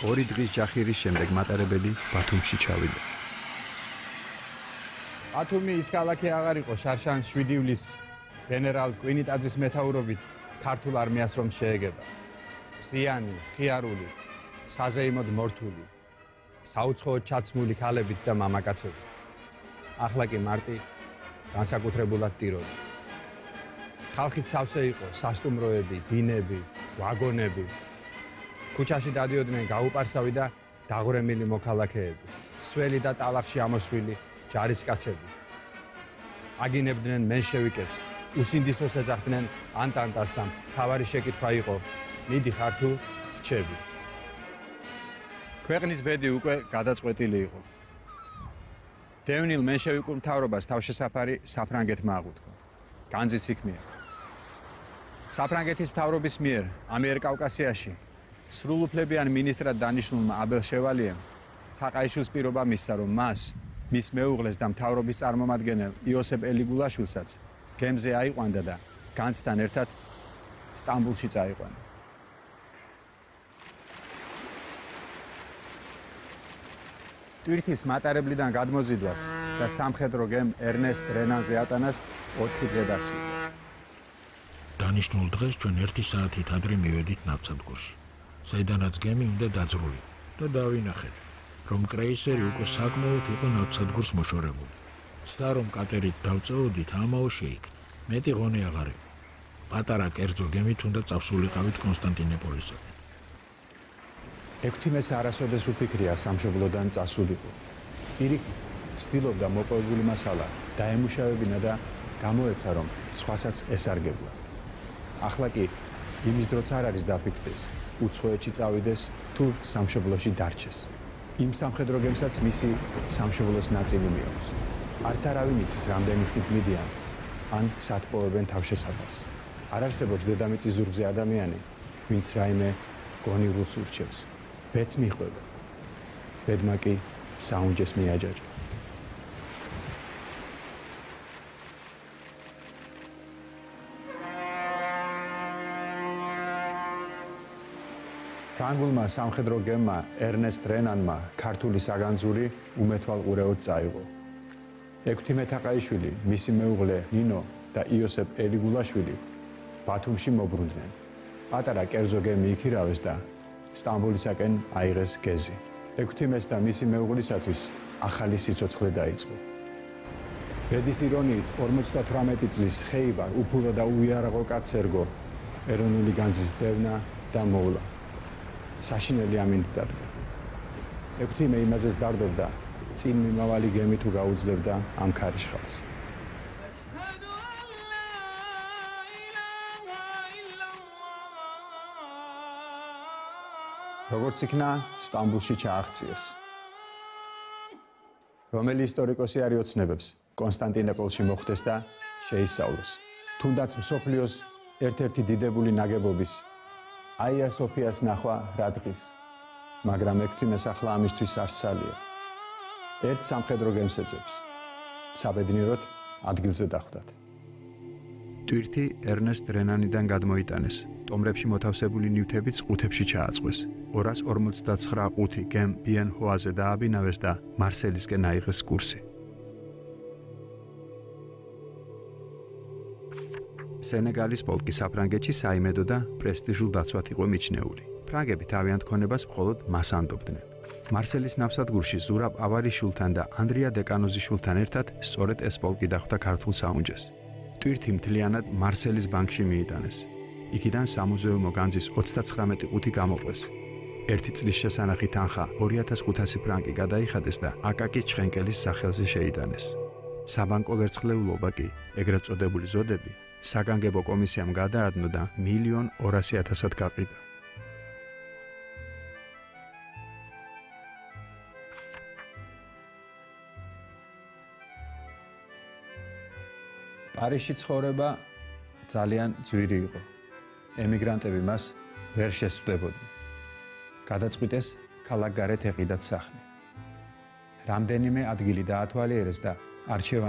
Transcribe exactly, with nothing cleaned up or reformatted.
ორი დღის ჯახირის შემდეგ მატარებელი ბათუმში ჩავიდა. ბათუმი ის ქალაქი აღარ იყო შარშან შვიდი ივლისს გენერალ კვინიტაძის მეთაურობით ქართულ არმიას რომ შეეგება. მზიანი, ხიარული, საზეიმოდ მორთული, საუცხოოდ ჩაცმული ქალებით და მამაკაცებით. ახლა კი მარტი განსაკუთრებულად ტიროდა. ხალხით სავსე იყო სასტუმროები, ბინები, ვაგონები. ქუჩაში დადიოდნენ გაუპარსავი და დაღვრემილი მოქალაქეები, სველი და ტალახში ამოსვლილი ჯარისკაცები. აგინებდნენ მენშევიკებს, უსინდისოს ეძახდნენ ანტანტას და მთავარი შეკითხვა იყო: მიდიხარ თუ რჩები? ქვეყნის ბედი უკვე გადაწყვეტილი იყო. დევნილ მენშევიკურ მთავრობას თავშესაფარი საფრანგეთმა აღუთქვა. განძიც იქ მიიღო. საფრანგეთის მთავრობის მიერ ამიერკავკასიაში სრულუფლებიან მინისტრად დანიშნულმა აბელ შევალიემ თაყაიშვილს პირობა მისცა, რომ მას, მის მეუღლეს და მთავრობის წარმომადგენელ იოსებ ელიგულაშვილსაც გემზე აიყვანდა და განძთან ერთად სტამბულში წაიყვანა. ტვირთის მატარებლიდან გადმოზიდვას და სამხედრო გემ ერნესტ რენანზე ატანას ოთხი დღე დასჭირდა. დანიშნულ დღეს ჩვენ ერთი საათით ადრე მივედით ნავსადგურში, საიდანაც გემი უნდა დაძრული და დავინახეთ, რომ კრეისერი უკვე საკმაოდ იყო ნავსადგურს მოშორებული. ცდა რომ კატერით დავწეოდით, ამაო შეიქ. მეტი ღონე აღარ იყო. პატარა კერძო გემით უნდა წავსულიყავით კონსტანტინოპოლისაკენ. ექვთიმეს არასოდეს უფიქრია სამშობლოდან წასულიყო. პირიქით, ცდილობდა მოპოვებული მასალა დაემუშავებინა და გამოეცა, რომ სხვასაც ესარგებლა. ახლა კი იმის დროც არ არის დაფიქრდეს, უცხოეთში წავიდეს თუ სამშობლოში დარჩეს. იმ სამხედრო გემსაც მისი სამშობლოს ნაწილი მიაქვს. არც არავინ იცის, რამდენი ხნით მიდიან ან სად პოვებენ თავშესაფარს. არ არსებობს დედამიწის ზურგზე ადამიანი, ვინც რაიმე გონივრულს ურჩევს. ბედს მიხვდება. ბედმა კი საუნჯეს მიაჯაჭა. ფრანგულმა სამხედრო გემმა ერნესტ რენანმა ქართული საგანძური უმეთვალყურეოდ წაიღო. ექვთიმე თაყაიშვილი, მისი მეუღლე ნინო და იოსებ ელიგულაშვილი ბათუმში მობრუნდნენ. პატარა კერძო გემი იქირავეს და სტამბოლისაკენ აიღეს გეზი. ექვთიმეს და მისი მეუღლისათვის ახალი სიცოცხლე დაიწყო. ბედის ირონიით ორმოცდათვრამეტი წლის ხეივარ უფურო და უიარაღო კაცს ერგო ეროვნული განძის დევნა და მოვლა. საშინელი ამინდ დადგა. ექვთიმე იმაზეც დარდობდა, წინ მიმავალი გემი თუ გაუძლებდა ამ ქარიშხალს. როგორც იქნა სტამბულში ჩააღწიეს. რომელი ისტორიკოსი არ იოცნებებს კონსტანტინოპოლში მოხდეს და შეისწავლოს. თუნდაც მსოფლიოს ერთ-ერთი დიდებული ნაგებობის აია სოფიას ნახვა რა დღის, მაგრამ ექვთიმეს ახლა ამისთვის არ სცალია. ერთ სამხედრო გემს ეძებს. საბედნიეროდ ადგილზე დახვდათ. ტვირთი ერნესტ რენანიდან გადმოიტანეს. ტომრებში მოთავსებული ნივთებიც ყუთებში ჩააწყვეს. ორას ორმოცდაცხრა ყუთი გემ ბიენ ჰოაზე დააბინავეს და მარსელისკენ აიღეს კურსი. სენეგალის პოლკი საფრანგეთში საიმედო და პრესტიჟულ დაცვად იყო მიჩნეული. ფრანგები თავიანთ ქონებას მხოლოდ მას ანდობდნენ. მარსელის ნავსადგურში ზურაბ ავარიშვილთან და ანდრია დეკანოზიშვილთან ერთად სწორედ ეს პოლკი დახვდა ქართულ საუნჯეს. ტვირთი მთლიანად მარსელის ბანკში მიიტანეს. იქიდან სამუზეუმო განძის ოცდაცხრამეტი ყუთი გამოყვეს. ერთი წლის შესანახი თანხა ორი ათას ხუთასი ფრანკი გადაიხადეს და აკაკი ჩხენკელის სახელზე შეიტანეს. საბანკო ვერცხლეულობა კი, ეგრეთ წოდებული ზოდები, საგანგებო კომისიამ გადაადნო და მილიონ ორასი ათასად გაყიდა. პარიზში ცხოვრება ძალიან ძვირი იყო. ემიგრანტები მას ვერ შესწვდებოდნენ. გადაწყვიტეს ქალაქგარეთ ეყიდათ სახლი. რამდენიმე ადგილი დაათვალიერეს და არჩევანი